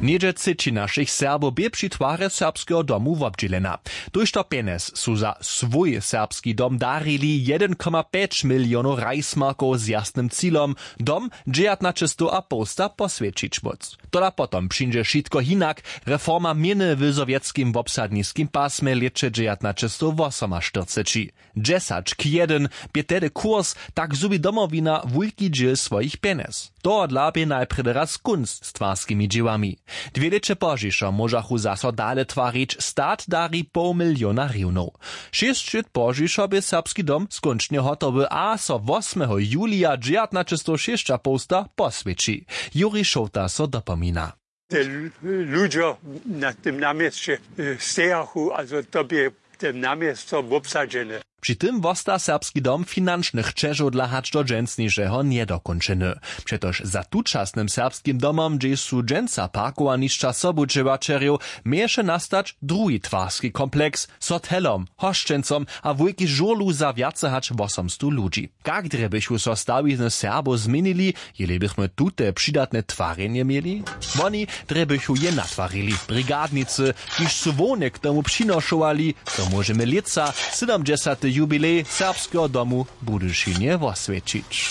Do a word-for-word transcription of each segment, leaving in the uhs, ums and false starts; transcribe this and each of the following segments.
Něhdźe třeći našich Serbow bě při twarje serbskeho domu wobdźělena. Tójšto pjenjez su za swój serbski dom darili jedyn koma pjeć milionow rajsmarkow z jasnym cilom, dom dźewjatnaćestow a połsta poswjećić móc. Tola potom přińdźe wšitko hinak. Reforma měny w sowjetskim wobsadniskim pasmje lěće dźewjatnaćestowwosomaštyrceći. Dźesać k jedyn bě tehdy kurs, tak zhubi Domowina wulki dźěl swojich pjenjez. Tohodla bě najprjedy raz kónc z twarskimi dźěłami. Dwě lěće pozdźišo móžachu zaso dale twarić. Stat dari poł miliona hriwnow. Šěsć lět pozdźišo bě serbski dom skónčnje hotowy a so wosmeho julija dźewjatnaćestowšěsćapołsta poswjeći. Juri Šołta so dopomina. Te lu- ludźo na tym namjesće e, stejachu, also to bě te namjesto wobsadźene. Při tym wosta serbski dom finančnych ćežodla hač do dźensnišeho njedokónčeny. Přetož za tučasnym serbskim domom, hdźež su dźensa parkowanišća sobudźěłaćerjow, měješe nastać druhi twarski kompleks z hotelom, hosćencom a wulki žurlu za wjace hač wosomstow ludźi. Kak drje bychu so stawizny Serbow změnili, jeli bychmy tute přidatne twarjenje měli? Woni drje bychu je natwarili. Brigadnicy, kiž su hłowne k tomu přinošowali, to móžemy lětsa sydomdźesaty jubilej serbskeho domu w Budyšinje woswjećić.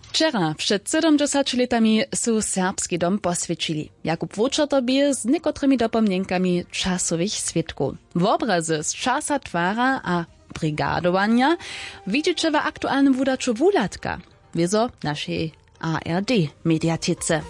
Wčera před sydomdźesaću lětami su serbski dom poswjećili. Jakub Wočerto bě z někotrymi dopomnjenkami časowych swědkow. Wobrazy z časa twara a brigadowanja widźeće w aktualnym wudaću wuhladka wězo našej A R D mediatece.